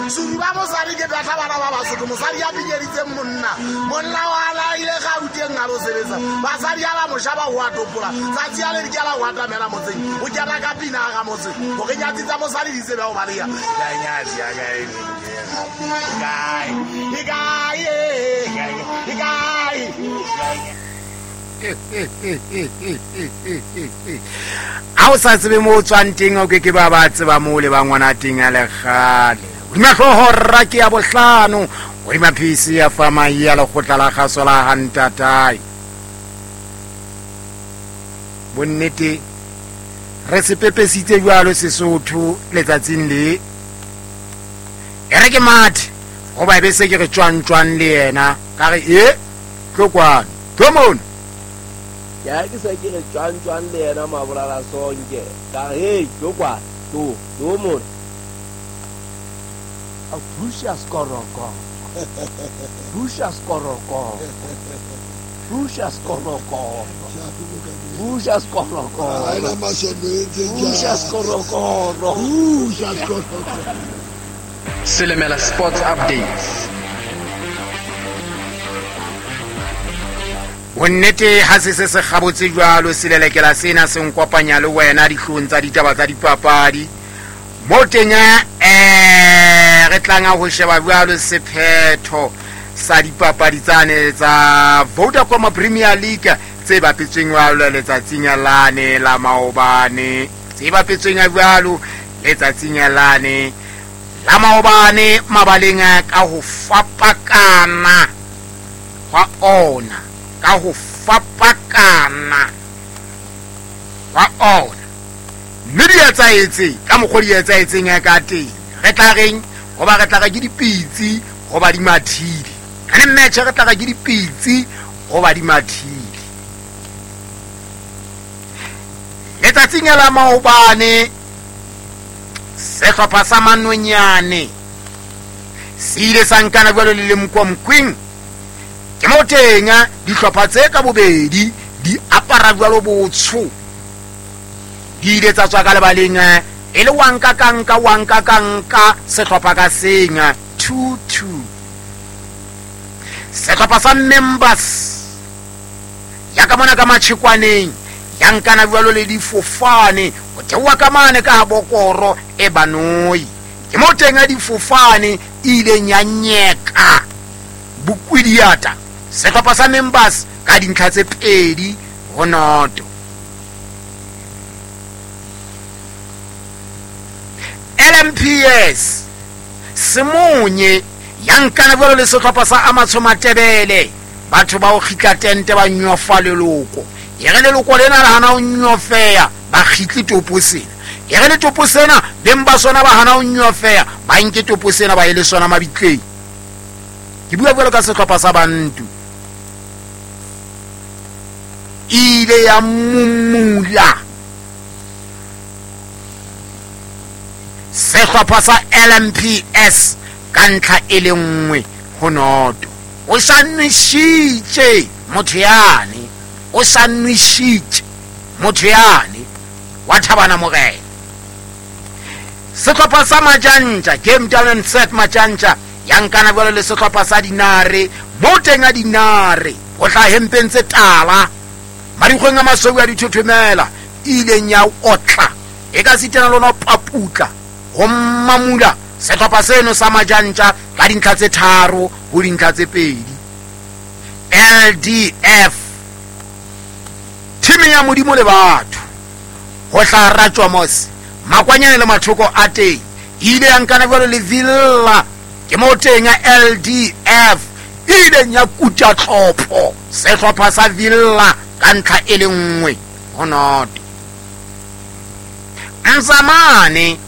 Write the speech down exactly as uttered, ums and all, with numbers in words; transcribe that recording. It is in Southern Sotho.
Suruba mosadi ke batla bana ba Basotho, mosadi ya pinyeditseng monna. Monna wa la ile Gauteng a lo sebetsa. Basadi ya ba moshaba ho a topola. Tsatsi ya le di kela ho atamela motseng. O kena ka pina ga motse. Hore nyatsi tsa mosadi di tsebe ho baleha. Ya nyatsi ya kae kae. Kae kae kae. A o sa tsebe mo o tswang teng, o ke ke ba ba tseba mo le ba ngwana teng a lekgale. Hodima hlooho rra ke ya bohlano, hodima phisi ya fama ya lekgotla la kgaso la ha ntatae. Bonnete re se pepesitse jwalo Sesotho letsatsing le. E re ke mathe hoba e be se ke re tjwang tjwang le yena ka re e tlo kwano tlo mona. Ya ke se ke re tjwang tjwang le yena mabolala sonke ka re hey tlo kwa tlo tlo mona. A pusha skoroko pusha skoroko pusha skoroko pusha skoroko pusha skoroko pusha skoroko. Silimela Sports Updates. Bonnete ha se se se kgabotse jwalo selelekela sena se nkopanya le wena dihlong tsa ditaba tsa dipapadi. Mo teng eh re tlanga ho sheba jwalo sephetho sa dipapadi tsane tsa Vodacom Premier League tse bapetsweng jwalo letsatsing lane la maobane, tse bapetsweng jwalo letsatsing lane la maobane mabaleng ka ho fapakana hwa ona, ka ho fapakana hwa ona. Mme di etsaetse ka mokgwa di etsaetseng ya ka teng. Re tla reng hoba re tla re ke dipitsi hoba di mathile. Ka ne match re tla re ke dipitsi hoba di mathile. Letsatsing la maobane sehlopha sa Manonyane se ile sa nkana jwalo le Lemkomkwing. Ke mo teng dihlopha tse ka bobedi di apara jwalo botsho. Di ile tsa tswa ka lebaleng e le wanka kanka wanka kanka sehlopha ka seng two two. Sehlopha sa Members ya ka mona ka Matshikwaneng ya nkana jwalo le difofane ho theoha ka mane ka ha bokoro e banoi. Ke mo teng a difofane ileng ya nyeka bokwidiata sehlopha sa Members ka dintlha tse pedi ho noto. L M P S Semonye ya nkana jwalo le sehlopha sa Amatsho Matebele. Batho ba o kgitla tente ba nyofa leloko. E re leloko lena la hana ho nyofeya ba kgitle topo sena. E re le topo sena beng ba sona ba hana ho nyofeya ba nke topo sena ba ye le sona mabitleng. Ke bua jwalo ka sehlopha sa Bantu. Ile ya mumula sehlopha sa L M P S ka ntlha e le nngwe ho noto. O sa nwešitše motho yane, o sa nwešitše motho yane wa Thabana Morena. Sehlopha sa Majantja, Game Down and Set Majantja ya nkana jwalo le sehlopha sa Dinare. Mo teng a Dinare ho tla hempeng tse tala marikgweng a masweu a dithothomela ileng ya otla e ka sitana lona paputla ho mamula sehlopha seno sa Majantja ka dintlha tse tharo ho dintlha tse pedi. L D F team ya Modimo le batho ho hla ratjwa mos makwanyane le mathoko a teng ile ya nkana jwalo le Villa. Ke mo teng ya L D F ileng ya kuta tlhopho sehlopha sa Villa ka ntlha e le nngwe ho noto. Mzamane